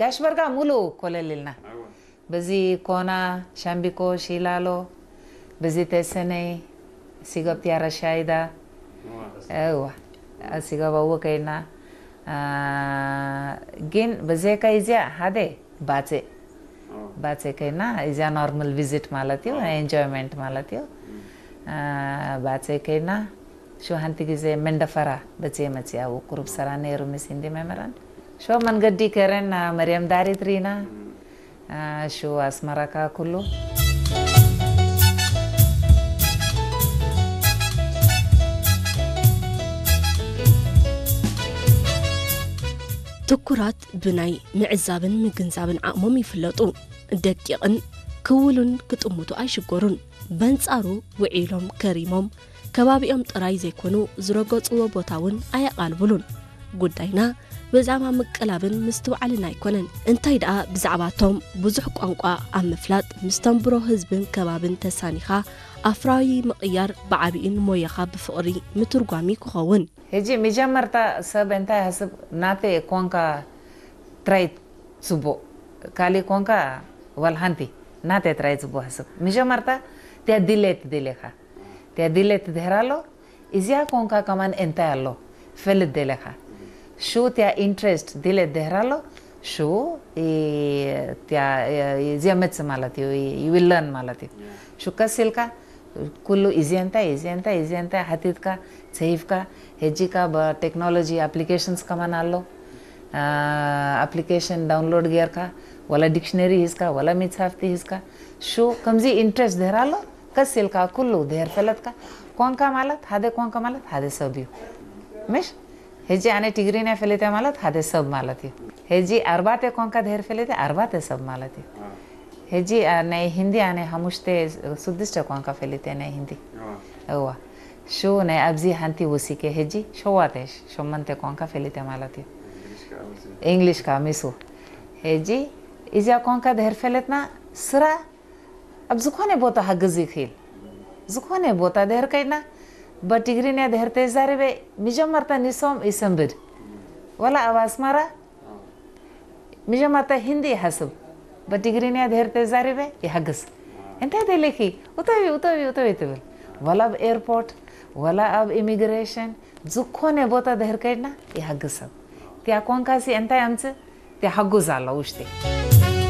ያሽበርጋ ሙሉ ኮለል ኢልና። በዚ ኮና፣ ሻምቢኮ፣ ሺላሎ፣ በዚ ተሰነይ፣ ሲገብ ቲያራ ሻይዳ። እዋ፣ ሲገብ ኣዎ ከይና። አ፣ ግን በዚ ከይዚያ ሓደ ባጼ። ባጼ ከይና፣ እዚያ ኖርማል ቪዚት ማለት እዩ፣ ናይ ኤንጆይመንት ማለት እዩ። አ፣ ባጼ ከይና፣ ሹ ሓንቲ ግዜ መንደፈራ በጽየ መጽየ፣ ኣብኡ ቁሩብ ሰራ ነይሩ ምስ ሂንዲ መምህራን። ሹ መንገዲ ከረን መርየም ዳሪት ሪና፣ ሹ ኣስመራ ከኣ ኩሉ። ትኩራት ብናይ ምዕዛብን ምግንዛብን ዓቕሞም ይፍለጡ። ደቂቕን ክውሉን ክጥምቱ ኣይሽገሩን። በንጻሩ ውዒሎም ከሪሞም ከባቢኦም ጥራይ ዘይኮኑ ዝረገጽዎ ቦታ እውን ኣየቓልብሉን። ጉዳይና ብዛዕባ ምቅላብን ምስትውዓልን ኣይኮነን። እንታይ ደኣ ብዛዕባቶም ብዙሕ ቋንቋ ኣብ ምፍላጥ ምስ ተንብሮ ህዝብን ከባብን ተሳኒኻ ኣፍራዪ ምቕያር ብዓቢኡን ሞያኻ ብፍቕሪ ምትርጓም እዩ ክኸውን። ሕጂ መጀመርታ ሰብ እንታይ ይሓስብ? ናተይ ኮንካ ጥራይ ጽቡቕ፣ ካሊእ ኮንካ ዋላ ሓንቲ። ናተይ ጥራይ ጽቡቕ ይሓስብ። መጀመርታ እቲኣ ድሌት ደልየኻ። እቲኣ ድሌት ድሕር ኣሎ፣ እዚኣ ኮንካ ከማን እንታይ ኣሎ ፈልጥ ደልየኻ። ሹ እቲኣ ኢንትረስት ድሌት ድሕር ኣሎ፣ ሹ እ፣ እቲኣ፣ እ፣ እዚኣ መጽእ ማለት እዩ፣ you will learn ማለት እዩ። ሹ ቀስ ኢልካ ኩሉ እዚ እንታይ፣ እዚ እንታይ፣ እዚ እንታይ ሓቲትካ፣ ጽሒፍካ፣ ሕጂ ከኣ ብቴክኖሎጂ ኣፕሊኬሽንስ ከማን ኣሎ። ኣ፣ ኣፕሊኬሽን ዳውንሎድ ጌርካ፣ ዋላ ዲክሽነሪ ሂዝካ፣ ዋላ መጽሓፍቲ ሂዝካ፣ ሹ ከምዚ ኢንትረስት ድሕር ኣሎ፣ ቀስ ኢልካ ኩሉ ድሕር ፈለጥካ፣ ኮንካ ማለት፣ ሓደ ኮንካ ማለት ሓደ ሰብ እዩ። ምሽ? ሕጂ ኣነ ትግርኛ ፈሊጠ ማለት ሓደ ሰብ ማለት እዩ። ሕጂ ኣርባዕተ ኳንካ ድሕር ፈሊጠ ኣርባዕተ ሰብ ማለት እዩ። ሕጂ ኣ፣ ናይ ሂንዲ ኣነ ሓሙሽተ ስድስተ ኳንካ ፈሊጠ ናይ ሂንዲ። እዋ። ሹ ናይ ኣብዚ ሓንቲ ወሲከ ሕጂ ሸዋተ ሸመንተ ኳንካ ፈሊጠ ማለት እዩ። እንግሊሽ ከኣ ሚሱ። ሕጂ እዚኣ ኳንካ ድሕር ፈለጥና ስራ ኣብ ዝኾነ ቦታ ሃግዝ ይኽእል። ዝኾነ ቦታ ድሕር ከይድና በትግርኛ ድሕር ተዛሪበ መጀመርታ ንሶም ይሰንብድ። ወላ ኣብ ኣስመራ መጀመርታ ሂንዲ ይሓስብ። በትግርኛ ድሕር ተዛሪበ ይሓግዝ። እንታይ ደሊኺ? ውተቢ፣ ውተቢ፣ ውተቢ ትብል። ወላ ኣብ ኤርፖርት፣ ወላ ኣብ ኢሚግሬሽን፣ ዝኾነ ቦታ ድሕር ከይድና ይሓግዝ ሰብ። እቲኣ ኳንካሲ እንታይ ኣምጽእ? እቲኣ ሓጉዝ ኣላ ውሽጢ።